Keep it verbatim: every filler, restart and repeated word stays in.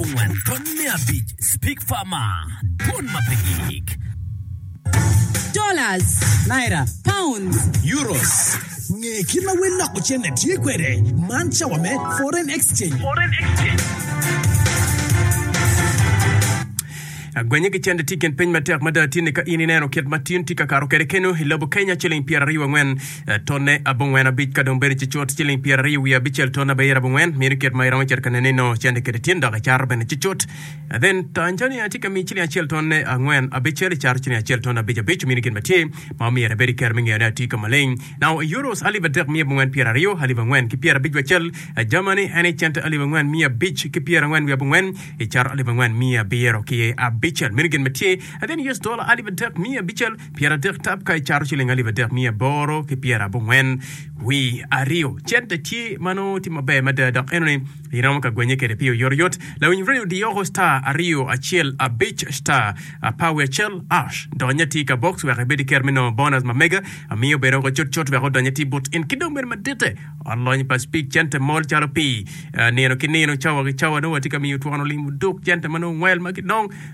abongwen tonne abic Speak Farmer dwon ma pe gik Dollars, Naira, pounds, euros. Nge kit ma wel loko cente tye kwede man cawa me foreign exchange. Gwenye ki cente tye i kin piny matek mada tye ni ka in ineno kit ma tin tye ka kato kwede keno i lobo Kenya ciling pyeraryo angwen eh, tonne abongwen abic ka dong bedo cucut ciling pyeraryo wiye abicel tonne abiero abongwen meno kit ma iromo cito ka nene nongo cente kede tin dok icato bene cucut Eh, then Tanzania tye ka miyi ciling acel tonne angwen abicel icato ciling acel tonne abic abic meno gin ma tye ma omyero ibed i kero me ngeyone atye ka maleng now euros alip adek miya abongwen pyeraryo alip angwen ki pyerabic wacel Eh, Germany en i cente alip angwen miya abic ki pyerangwen wiye abongwen icato alip angwen miya abiro ki abicel meno gin ma tye And then US dollar alip adek miya abicel pyeradek tap ka icato ciling alip adek miya aboro ki pyerabongwen wi aryo cente tye ma nongo tye maber mada dok enoni iromo ka gwenye kede pi oyotoyot lawiny radio diyoko star aryo acel abic star apar wiye acel hash donye tye ka box wek ibed i ker me nongo bonus ma mega amiyo bedo ko cutcut wek odonye tye but in ki dong bedo madite olony pa speak cente mol calo pii Eh, nino ki nino cawa ki cawa nongo watye ka miyo twono limo duk cente ma nongo ngwel ma ki dong